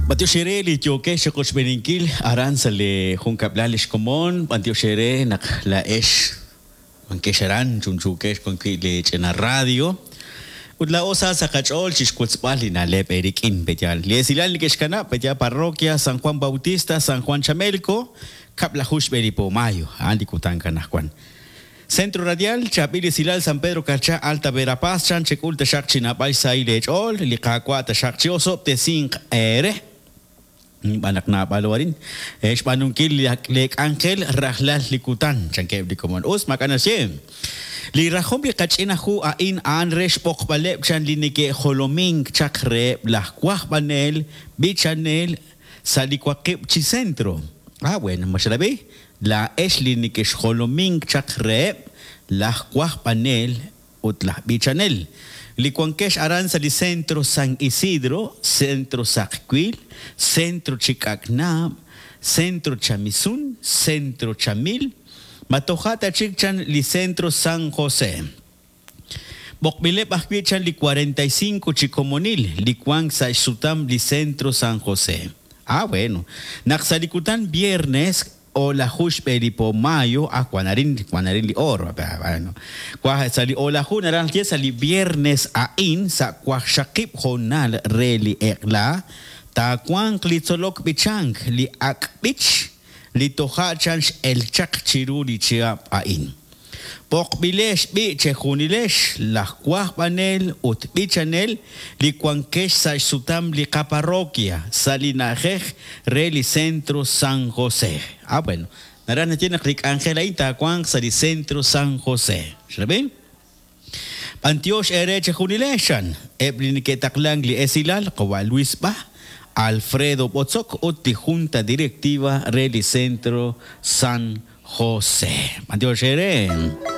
B'antiox eere li yookex chiqochb'eeninkil aran sa' li junkab'lal lix komon, b'antiox eere naq laa'ex wankex aran chunchuukex wan wi' lee ch'ina radio. Ut laa'o sa sa' qach'ool chixwotzb'al li na'leb' eerik'in, pe'yaal? Li esilal neke'xkanab', pe'yaal? Parroquia San Juan Bautista, San Juan Chamelco, kab'laju xb'e li po mayo, a'an li kutan anajwan. Centro Radial, Chaab'il Esilal San Pedro Carchá, Alta Verapaz, chan chek'ul taxaq chi naab'al xsahil eech'ool, li Qaawa' taxaq chi'osob'tesinq eere. Xb'aan naq naab'alo arin xb'aanunkil lee k'anjel rajlal li kutan, chankeb' li komon. Us, maak'a' naxye. Li rajom li qach'ina hu a'in a'an re xb'oqb'aleb' chan li neke'jolomink chaq reheb' laj wajb'anel, b'ichanel, sa' li waqib' chi centro. Ah, bueno, ma xerab'i? Laa'ex li nekexjolomink chaq reheb' laj wajb'anel ut laj b'ichanel, li wankex aran sa' li Centro San Isidro, Centro Saqwiil, Centro Chik'ak'naab', Centro Chamisun, Centro Chamil, ma toja' ta chik chan li Centro San José. B'oqb'ileb' ajwi' chan li 45 chi komonil li wank sa' xsutam li Centro San José. Ah, bueno. Naq sa' li kutan viernes o'laju xb'e li po mayo, ah, wan arin, wan arin li or, bueno. Wa, sa' li o'laju naraj naxye sa' li viernes a'in sa' waqxaqib' hoonal re li eq'la, taawanq li tzolok b'ichank, li ak' b'ich, li toja' chan x'el chaq chiru li chihab' a'in. B'oqb'ilex b'i' chejunilex laj wajb'anel ut b'ichanel li wankex sa' xsutam li qaparroquia sa' li na'ajej re li Centro San José. Ah, bueno, naraj naxye naq li k'anjel a'in taawanq sa' li Centro San José. Xrab'i? B'antiox eere chejunilex, chan eb' li neke'taqlank li esilal, qawa' Luis Bah, Alfredo Botzok ut li Junta Directiva re li Centro San José. B'antiox eere.